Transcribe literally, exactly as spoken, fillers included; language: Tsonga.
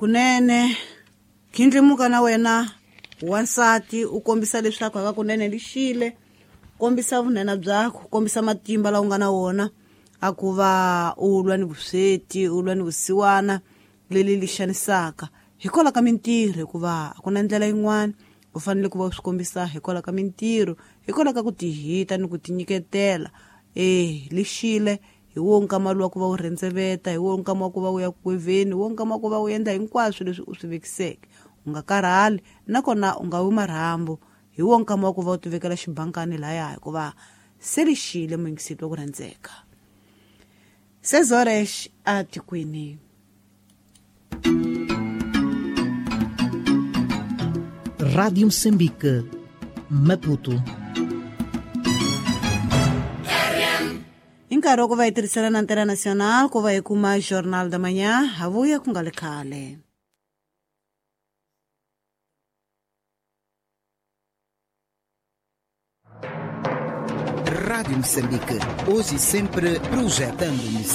Kunene khindlimuka na wena wansati u kombisa leswaku hakakunene lixile, kombisa vunene byakho, kombisa matimba lawa u nga na wona a ku va u lwa ni vusweti, u lwa ni vusiwana leli li xanisaka hikwalaho ka mintirho, hikuva a ku na ndlela yin'wana. U fanele ku va u swi kombisa hikwalaho ka mintirho, hikwalaho ka ku tihita ni ku tinyiketela. E lixile hi wo nkama luwa ku va u rhendzeveta, hi wo nkama wa ku va u ya kweveni, hi wo nkama wa ku va u endla hinkwaswo leswi u swi vekiseke. U nga karhali nakona u nga wi marhambu, hi wo nkama wa ku va u tivekela xibankani laya, hikuva se lixile muyingiseti wa ku rhandzeka. Sezores a tikweni. Rádio Moçambique, Maputo. Hi nkarhi wa ku va hi tirhisana na Antena Nacional ku va hi kuma Jornal da Manhã, ha vuya ku nga ri khale. Rádio Moçambique, hoje e sempre projetando Moçambique.